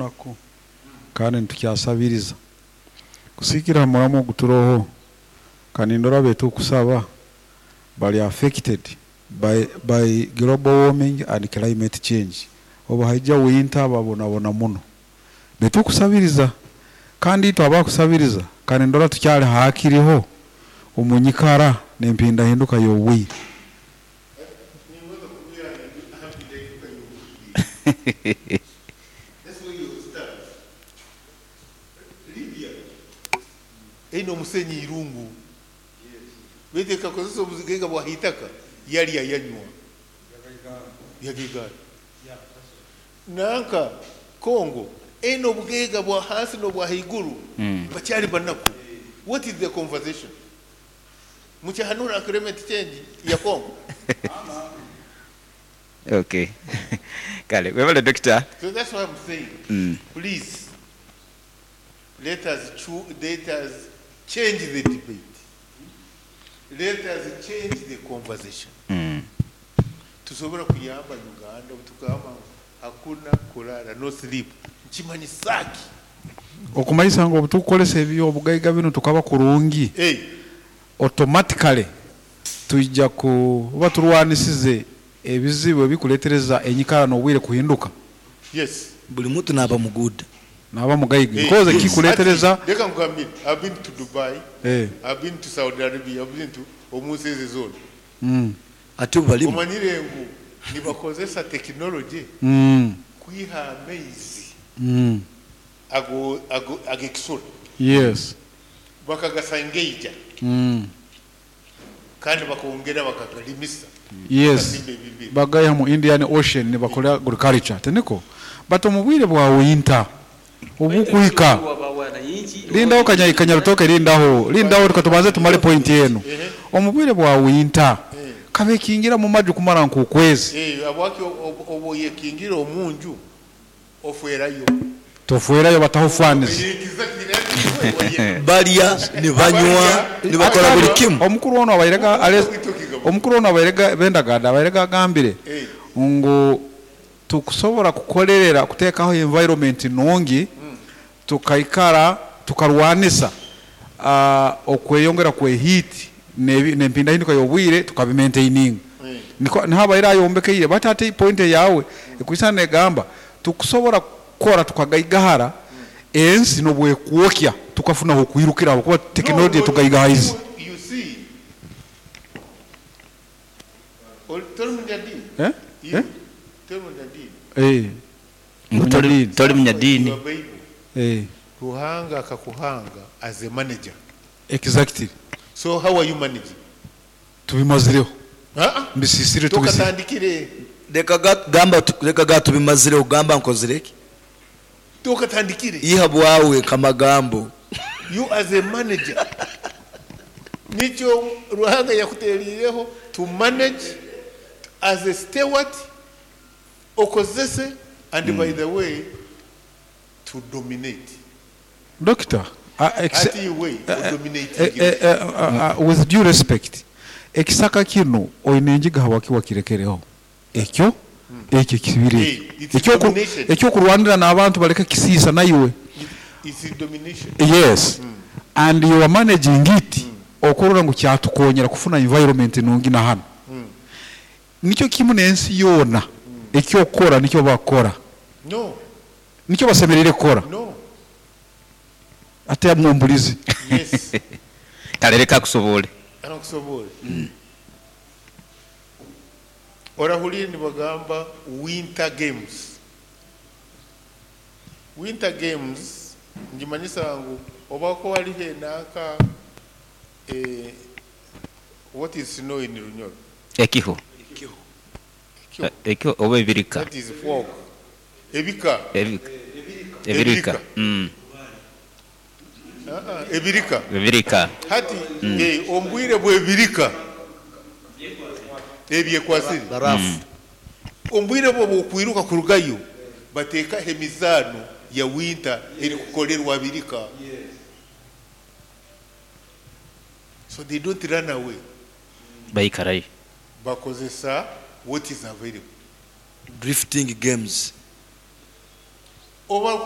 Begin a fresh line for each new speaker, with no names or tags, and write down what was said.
bunaku kandi nitukyasabiriza. Kusiikira ha muramwa ogu turoho, ka nindora abetukusaba bali affected by by global warming and climate change. Obu haija winter babonabona muno. Betukusabiriza kandi itwe abakusabiriza ka nindora tukyali hakiriho omu nyikara n'empindahinduka y'obwire.
Libya eine omusenyi irungu beitu ekakozesa obugaiga bwa haitaka yarya yanywa yagaigara. Nanka Congo eine obugaiga bwa hansi n'obwa haiguru bakyari banaku. What is the conversation? Mukyahanura climate change ya Congo?
Ok kale webale Dokita.
So that's why I'm saying please let us let us change the debate, let us change the conversation. Tusobora kuyamba Uganda obutukugamba ngu hakuna kulala, no sleep, nikimanyisa ki?
Okumanyisa ngu obutukukozesa eby'obugaiga binu tukaba kurungi, automatically twija kuba turwanisize ebizibu ebikuletereza enyikara n'obwire kuhinduka.
Yes.
Buli muntu naaba muguuda.
Naaba mugaiga because
Hati
ekikuletereza.
leka nkugambire, I've been to Dubai, I've been to Saudi Arabia, I've been to omunsi ezi zoona.
Ati obu balimu.
Omanyire ngu nibakozesa tekinologye kwiha amaizi ago ago ag'ekisura. Bakagasangeija kandi bakongera bakagarimisa bakazimba ebibira.
Bagaiha mu Indian Ocean nibakora agriculture, tiniko? But omu bwire bwa winter obukuhika, lindaho Kanyarutoke lindaho, lindaho reka tubanze tumare point enu. Omu bwire bwa winter kabekingira mu maju kumara nk'okwezi.
Habwaki obu oyekingira omunju ofwerayo?
Tofwerayo bataho fans.
Balya ni banywa ni bakola buli kimu.
Omukuru onu abaire omukuru onu abaire Bendaganda abaire agambire ngu tukusobora kukolerera kutekaho environment nungi tukaikara tukarwanisa okweyongera kwe heat n'empindahinduka y'obwire tukabi maintaininga. Nikwo niho abaire ayombekeire but hati point eyawe ekwisana negamba tukusobora kukora tukagaigahara ensi nobwekwokya tukafuna ahokwirukira habwokuba
No,
tekinologye
no,
tugaigahaize.
you see, toli munyadiini?
Eh?
Iwe
Eh?
toli munyadiini?
Eh.
Ngu toli
Munyadiini.
toli
Your
munyadiini.
Bible.
Eh.
Ruhanga akakuhanga as a manager.
Exactly.
So how are you managing?
Tubimazireho.
Uh-uh.
Mbisisire tubisisire.
Tokatandikire.
Leka gamba leka ga tubimazireho gamba nkozire ki?
Tokatandikire.
Iha bwawe kamagambo.
You as a manager. Nikyo Ruhanga yakuteriireho to manage as a steward, okozese, and by the way, to dominate.
Doctor,
Ati iwe odominating.
with due respect, ekisaka kinu oine enjiga habwaki wakirekereho? Ekyo ekyo ekibiri
Hey,
ekyo.
it's domination.
Ekyokurwanira n'abantu baleke kisiisa naiwe.
It's domination.
Yes. And you are managing it okurora ngu kyatukonyera kufuna environment nungi na hanu. Nikyo kimu n'ensi yoona ekyokukora nikyo bakora.
No,
Nikyo basemerire kukora.
no.
Ate mwumbulizi.
Yes.
Kale leka akusobole.
Anakusobole. Orahulire nibagamba winter games. Winter games njimanyisa ngu obako waliho enanka what is snow in Runyoro?
Ekiho.
Ekiho.
Ekiho oba ebirika.
That is fog. Ebika.
Ebirika. Ebirika.
Ebirika.
Ebirika.
Hati ombwire bw'ebirika ebyekwasire.
Barafu.
Ombwire bwo bwokwiruka kurugayo bateekaho emizaano ya winter erikukolerwa birika. So they don't run away.
Baikarayo.
Bakozesa what is available.
Drifting games.
Oba